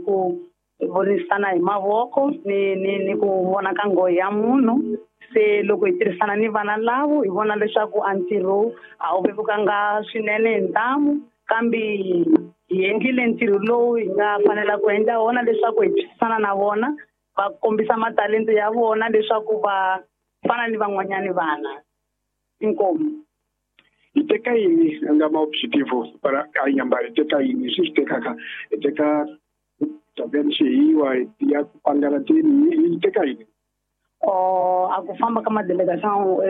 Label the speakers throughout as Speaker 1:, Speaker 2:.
Speaker 1: ku vonisana hi mavoko ni ku vona ka nghohe ya munhu. Se loko hi tirhisana ni vana lavo hi vona leswaku a ntirho a wu vevukanga swinene hi ntamu, kambe hi endlile ntirho lowu hi nga fanela ku endla wona leswaku hi twisisana na vona, va kombisa matalento ya vona leswaku va fana ni van'wanyani vana. Inkomu.
Speaker 2: Hi teka yini nga ma objetivo para a Inhambane? Hi teka yini swi swi tekaka? Hi teka tabeni xihiwa ya ku pangalateni, hi teka yini?
Speaker 1: A ku famba ka ma-délégation,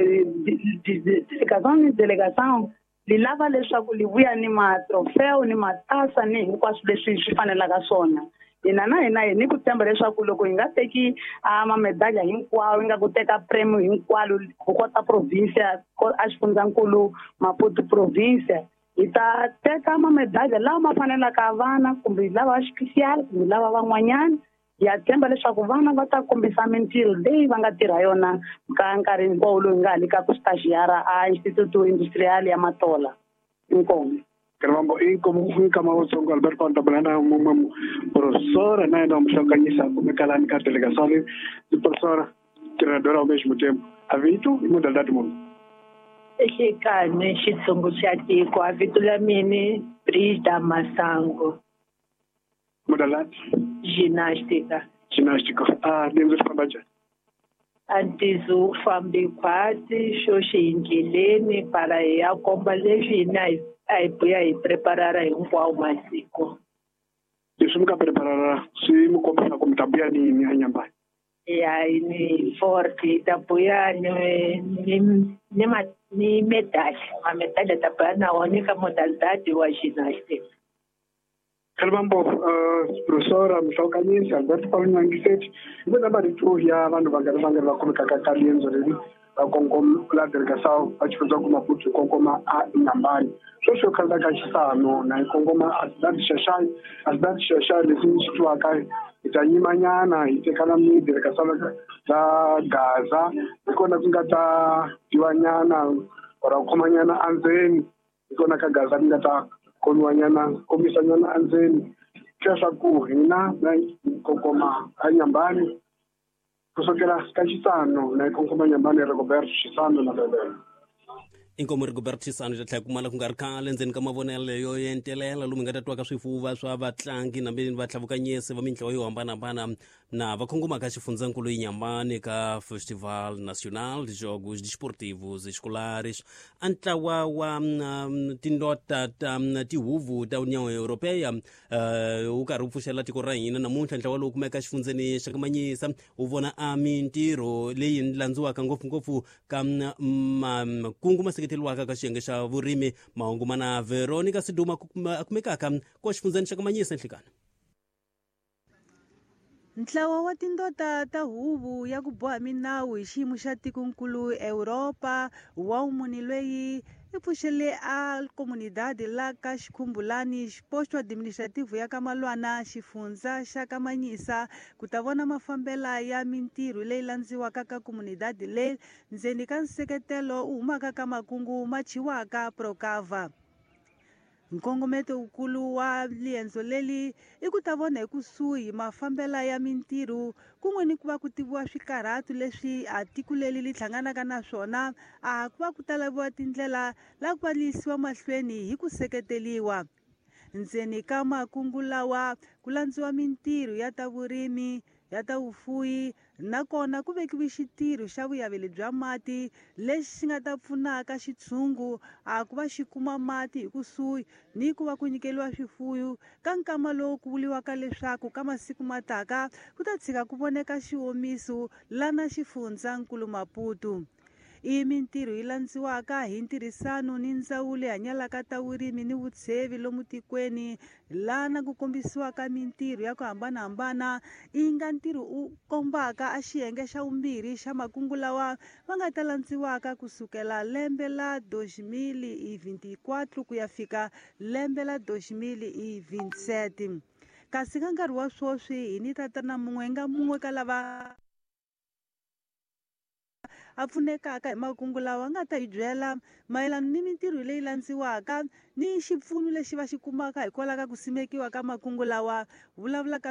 Speaker 1: délégation ni délégation li lava leswaku li vuya ni ma-trofeo ni matasa ni hinkwaswo leswi swi fanelaka swona. Hina na hina hi ni ku tshemba leswaku loko hi nga teki a mamedalha hinkwawo, hi nga ku teka premio hinkwalo ku kota province a xifundzankulu Maputo province, hi ta teka mamedalha lawa ma fanelaka vana kumbe lava special kumbe lava van'wanyana. Ya tshemba leswaku vana va ta kombisa mintirho leyi va nga tirha yona ka nkarhi hinkwawo lowu hi nga ha le ka ku stagiara a Instituto Industrial ya Matola. Inkomu.
Speaker 2: Caramba, inkomu nkama wutsongo Alberto Antabulana mumwe professora na yena muhlanganyisa kumekalani ka delegação de professora treinadora ao mesmo tempo. A vito i modalidade munhu.
Speaker 3: Exikan'we xitshungu xa tiko a vito la mini Brida Masango.
Speaker 2: Modalidade?
Speaker 3: Ginástica.
Speaker 2: Ginástica. Ah, lendzo swi famba njhani?
Speaker 3: A ntizo wu fambi khwatsi xo xi hi ndleleni para hi ya komba leswi hina a hi buya hi preparara hinkwawo masiku.
Speaker 2: Leswi mi nga preparara swi mi kombisa ku mi ta buya ni yini eNyambani?
Speaker 3: Ya ni forte hi ta buya ni medali, mamedali ta buya na wona ka modalidade wa gymnastic.
Speaker 2: Khalibambo, professora Mhlawukanyisi Alberto Paulo Nyangiseti, hi vona marito ya vanhu vangani vangani va khomekaka ka riendzo leri va kongoma la delegação va xifundzankulu Maputo hi kongoma a Inhambane. Sweswi yo khandziya ka Xisano na hi kongoma a cidade Xaxai, a cidade Xaxai leswi ni swi twaka hi ta yimanyana hi tekana ni delegação la Gaza, hi kona ku nga ta dyiwanyana or ku khomanyana endzeni, hi kona ka Gaza ku nga ta khomiwanyana kombisanyana endzeni leswaku hina na kongoma a Inhambane kusukela ka Xisano na hi kongoma Inhambane Rigoberto Xisano na Bebele.
Speaker 4: Inkomu Rigoberto Xisano ta tlhela kumala ku nga ri khale endzeni ka mavonelo yo entelela lomu hi nga ta twaka swifuva swa vatlangi na vatlavukanyisi va mintlawa yo hambanahambana na va kongomaka xifundzankulu Inhambane ka Festival Nacional de Jogos Desportivos Escolares. A ntlawa wa tindota ta tihuvu ta União Europeia wu karhi wu pfuxela tiko ra hina namuntlha. Ntlawa lowu kumeka xifundzeni xa Kamanyisa wu vona a mintirho leyi landziwaka ngopfungopfu ka makungu ma seketeriwaka ka xiyenge xa vurimi. Mahungu mana Veronica Siduma a kumekaka ko xifundzeni xa Kamanyisa nhlikani.
Speaker 5: Ntlawa wa tindota ta huvo ya ku boha minawu hi xiyimo xa tikonkulu Europa wa vumune loyi i pfuxele a comunidade la ka Xikhumbulani posto administrativo ya ka Malwana xifundza xa Kamanyisa ku ta vona mafambela ya mintirho leyi landziwaka ka comunidade leyi ndzeni ka nseketelo wu humaka ka makungu ma chiwaka Procava. Nkongometo wukulu wa riendzo leri i ku ta vona hi kusuhi mafambela ya mintirho kun'we ni ku va ku tiviwa swikarhato leswi a tiko leri ri hlanganaka na swona, a ku va ku ta laviwa tindlela la ku va li yisiwa mahlweni hi ku seketeriwa. Ndzeni ka makungu lawa ku landziwa mintirho ya ta vurimi, ya ta vufuwi, nakona ku vekiwe xitirho xa vuyaveli bya mati lexi xi nga ta pfunaka xitshungu a ku va xi kuma mati hi kusuhi ni ku va ku nyikeriwa swifuwo ka nkama lowu ku vuriwaka leswaku ka masiku mataka ku ta tshika ku voneka xiwomiso lana xifundzankulu Maputo. I mintirho yi landziwaka hi ntirhisano ni ndzawulo yi hanyalaka ta vurimi ni vutshevi lomu tikweni lana ku kombisiwaka mintirho ya ku hambanahambana i nga ntirho u kombaka a xiyenge xa vumbirhi xa makungu lawa va nga ta landziwaka kusukela lembe la 2024 ku ya fika lembe la 2027. Kasi ka nkarhi wa sweswi hi ni tatana mun'we nga mun'we ka lava a pfunekaka hi makungu lawa nga ta hi byela mayelana ni mintirho leyi landziwaka ni xipfuno lexi va xi kumaka hikwalaho ka ku simekiwa ka makungu lawa. Vulavula ka